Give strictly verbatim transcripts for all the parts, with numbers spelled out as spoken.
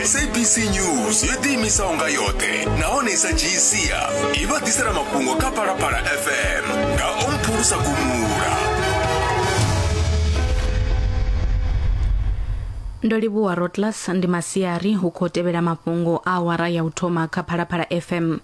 S A B C News yo ḓiimisaho nga yoṱhe nahone i sa dzhii sia i vha ḓisela mafhungo kha Phalaphala F M nga Omphulusa Gumula. Ndo livhuwa Rotlas. Ndi masiari hu khou tevhela mafhungo a awara ya u thoma kha Phalaphala F M.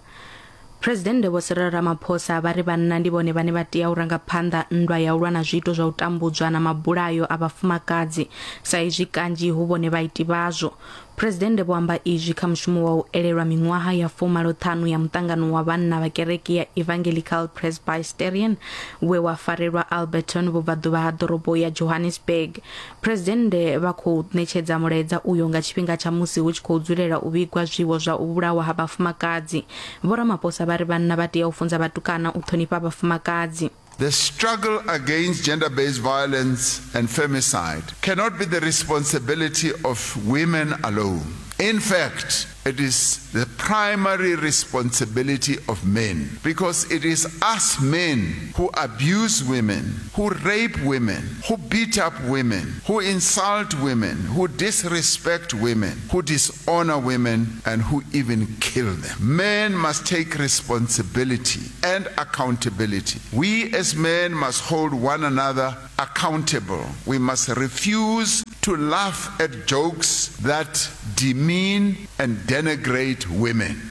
Presidennde Vho Cyril Ramaphosa vha ri vhanna ndi vhone vhane vha tea u ranga phanḓa nndwa ya u lwa na zwiito zwa u tambudzwa na mabulayo a vhafumakadzi sa izwi kanzhi hu vhone vhaiti vhazwo. Presidennde vho amba izwi kha mushumo wa u elelwa miṅwaha ya fumaloṱhanu ya muṱangano wa vhanna vha kereke ya Evangelical Presbyterian we wa farelwa Alberton vhubvaḓuvha ha ḓorobo ya Johannesburg. Presidennde vha khou ṋetshedza mulaedza uyo nga tshifhinga tsha musi hu tshi khou dzulela u vhigwa zwiwo zwa u vhulawa ha vhafumakadzi. Vho Ramaphosa vha ri vhanna vha tea u funza vhatukana u ṱhonifha vhafumakadzi. The struggle against gender-based violence and femicide cannot be the responsibility of women alone. In fact, it is the primary responsibility of men, because it is us men who abuse women, who rape women, who beat up women, who insult women, who disrespect women, who dishonor women, and who even kill them. Men must take responsibility and accountability. We as men must hold one another accountable. We must refuse to laugh at jokes that demean and denigrate women.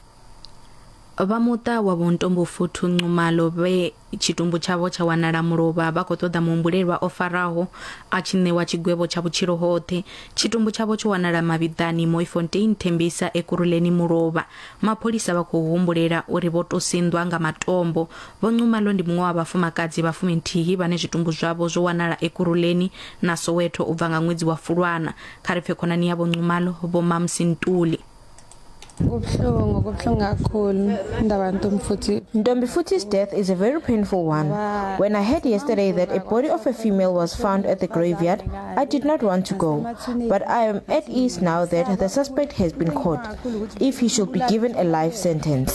Vha muṱa wa Vho Ntombofuthi Nxumalo vhe tshitumbu tshavho tsha wanala mulovha vha khou ṱoḓa muhumbulelwa o faraho a tshi ṋewa tshigwevho tsha vhutshilo hoṱhe. Tshitumbu tshavho tsho wanala mavhiḓani Mooifontein Tembisa Ekurhuleni mulovha. Mapholisa vha khou humbulela uri vho tou sinḓwa nga matombo. Vho Nxumalo ndi muṅwe wa vhafumakadzi vha fuminthihi vhane zwitumbu zwavho zwo wanala Ekurhuleni na Soweto u bva nga ṅwedzi wa Fulwana. Kha ri pfe khonani ya Vho Nxumalo Vho Mamsi Ntuli. Ntombifuthi's death is a very painful one. When I heard yesterday that a body of a female was found at the graveyard, I did not want to go. But I am at ease now that the suspect has been caught, if he should be given a life sentence.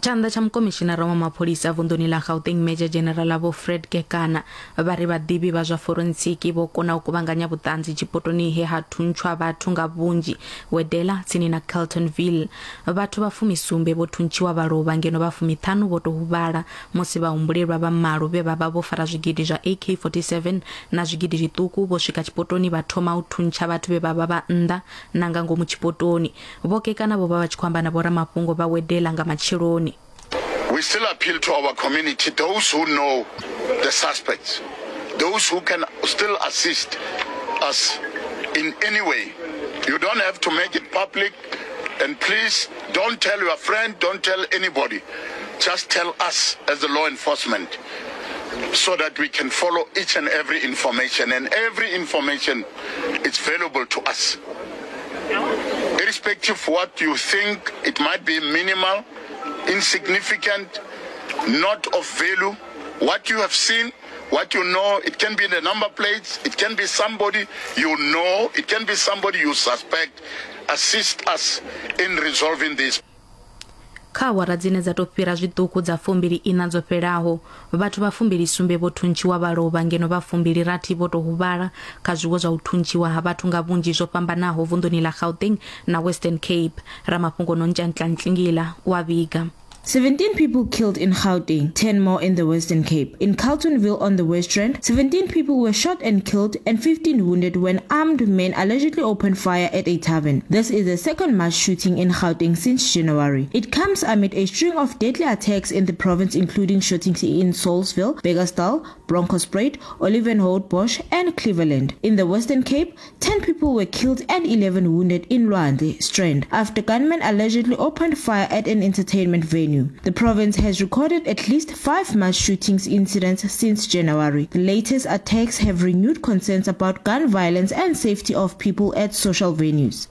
Tshanḓa tsha mukomishinara wa mapholisa vunḓuni ḽa Gauteng Major General Vho Fred Kekana vha ri vhaḓivhi vha zwa forensiki vho kona u kuvhanganya vhuṱanzi tshipotoni he ha thuntshwa vhathu nga vhunzhi Wedela tsini na Carltonville. Vhathu vha fumisumbe vho thuntshiwa vha lovha ngeno vha fumiṱhanu vho tou huvhala musi vhahumbulelwa vha malo vhe vha vha vho fara zwigidi zwa A K forty-seven na zwigidi zwiṱuku vho swika tshipotoni vha thoma u thuntsha vhathu vhe vha vha vha nnḓa na nga ngomu tshipotoni. Vho Kekana vho vha vha tshi khou amba na vhoramafhungo vha Wedela nga matsheloni. We still appeal to our community, those who know the suspects, those who can still assist us in any way. You don't have to make it public, and please don't tell your friend, don't tell anybody. Just tell us as the law enforcement so that we can follow each and every information, and every information is valuable to us. Irrespective of what you think, it might be minimal, insignificant, not of value. What you have seen, what you know, it can be the number plates, it can be somebody you know, it can be somebody you suspect. Assist us in resolving this. Kha awara dzine dza tou fhira zwiṱuku dza fumbili ina dzo fhelaho, vhathu vha fumbili sumbe vho thuntshiwa vha lovha ngeno vha fumbili rathi vho tou huvhala kha zwiwo zwa u thuntshiwa ha vhathu nga vhunzhi zwo fhambanaho vunḓuni ḽa Gauteng na Western Cape. Ramafhungo Nontshanhla Ntlingila wa vhiga. seventeen people killed in Gauteng, ten more in the Western Cape. In Carltonville on the West Rand, seventeen people were shot and killed and fifteen wounded when armed men allegedly opened fire at a tavern. This is the second mass shooting in Gauteng since January. It comes amid a string of deadly attacks in the province, including shootings in Saulsville, Bekkersdal, Bronkhorstspruit, Olivenhout-Bosch and Cleveland. In the Western Cape, ten people were killed and eleven wounded in Lwandle Strand after gunmen allegedly opened fire at an entertainment venue. The province has recorded at least five mass shootings incidents since January. The latest attacks have renewed concerns about gun violence and safety of people at social venues.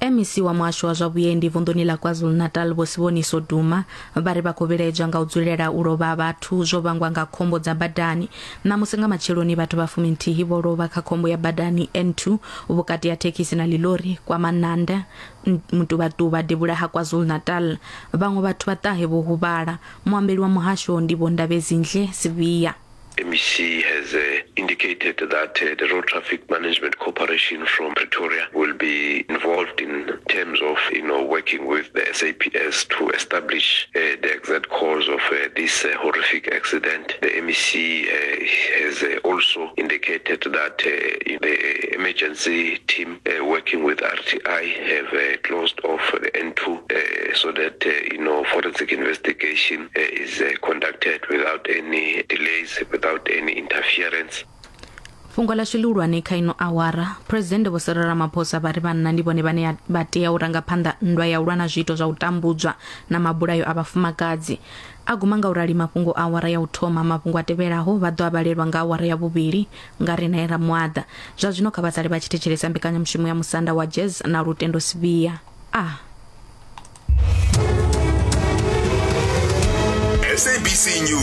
M E C wa muhasho wa zwa vhuendi vunḓuni ḽa KwaZulu-Natal Vho Siboniso Duma vha ri vha khou vhilaedzwa nga u dzulela u lovha vhathu zwo vhangwa nga khombo dza badani. Ṋamusi nga matsheloni vhathu vha fuminthihi vho lovha kha khombo ya badani N two vhukati ha thekhisi na ḽilori kwa Mananda, Mtubatuba, devhula ha KwaZulu-Natal. Vhaṅwe vhathu vha ṱahe vho huvhala. Muambeli wa muhasho ndi Vho Ndabezinhle Sibiya. M E C has uh, indicated that uh, the Road Traffic Management Corporation from Pretoria will be involved in terms of, you know, working with the S A P S to establish uh, the exact cause of uh, this uh, horrific accident. The M E C uh, has uh, also indicated that uh, the emergency team uh, working with R T I have uh, closed off the N two uh, so that, uh, you know, forensic investigation uh, is uh, conducted without any delays, without any interference. Fhungo ḽashu ḽihulwane kha ino awara: Phuresidennde Vho Cyril Ramaphosa vha ri vhanna ndi vhone vhane vha tea u ranga phanḓa nndwa ya u lwa na zwiito zwa u tambudzwa na mabulayo a vhafumakadzi. A guma nga u rali mafhungo a awara ya u thoma. Mafhungo a tevhelaho vha ḓo a vhalelwa nga awara ya vhuvhili nga Rinae Ramuaḓa. Zwa zwino kha vha sale vha tshi thetshelesa mbekanyamushumo ya Musanda wa Jazz na Lutendo Sibiya a S A B C News.